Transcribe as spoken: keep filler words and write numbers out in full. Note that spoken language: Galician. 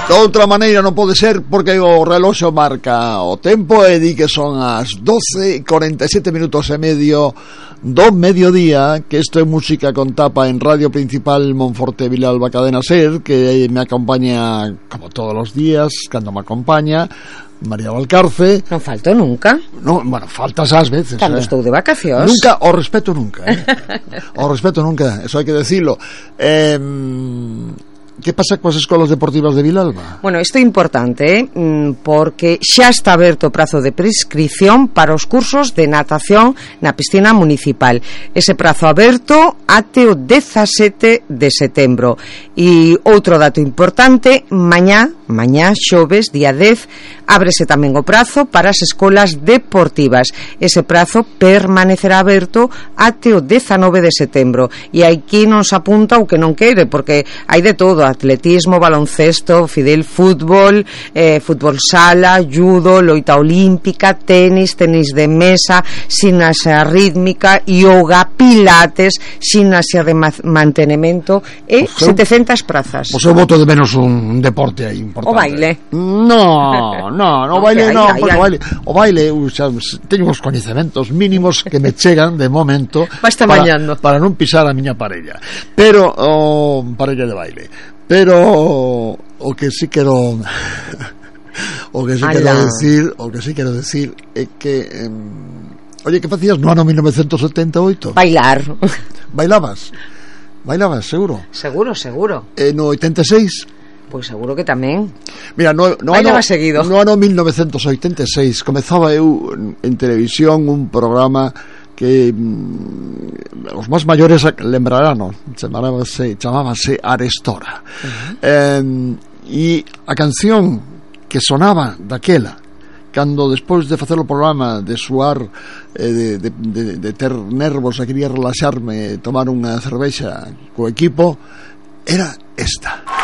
De outra maneira non pode ser, porque o reloxo marca o tempo e di que son as doce e cuarenta y siete minutos e medio do mediodía, que isto é música con tapa en Radio Principal Monforte Vilalba Cadena Ser, que me acompaña como todos os días, cando me acompaña María Valcarce. Non falto nunca. No, bueno, faltas ás veces. Cando eh. estou de vacacións. Nunca, o respeto nunca, eh. O respeto nunca, eso hai que decirlo. Eh, que pasa coas escolas deportivas de Vilalba? Bueno, isto é importante, eh? porque xa está aberto o prazo de prescripción para os cursos de natación na piscina municipal. Ese prazo aberto até o dezasete de setembro. E outro dato importante, mañá, mañá xoves, día dez, ábrese tamén o prazo para as escolas deportivas. Ese prazo permanecerá aberto até o dezanove de setembro. E aquí non se apunta o que non quere, porque hai de todo: atletismo, baloncesto, fidel fútbol, eh, fútbol sala, judo, loita olímpica, tenis, tenis de mesa, ximnasia rítmica, yoga, pilates, ximnasia de mantenimento e pues setecentas prazas. Pois eu voto de menos un deporte aí importante. O baile? No, no, no, o baile no, ai, ai, o baile, o baile xa, teño os coñecementos mínimos que me chegan de momento para, para non pisar a miña parella. Pero o oh, parella de baile. Pero o que sí quero o que sí Ala. quero decir, o que sí quero decir é que eh, oye, que facías no ano mil novecientos setenta e oito? Bailar. Bailabas? Bailabas, seguro? Seguro, seguro. E no oitenta e seis? Pois seguro que tamén. Mira, no, no Bailaba ano, seguido. No ano mil novecientos oitenta e seis comezaba eu en televisión un programa que mm, os máis maiores lembrarán, no? chamábase, chamábase Arestora. Uh-huh. eh, e a canción que sonaba daquela, cando despois de facer o programa, de suar, eh, de, de, de, de ter nervos e quería relaxarme, tomar unha cervexa co equipo, era esta.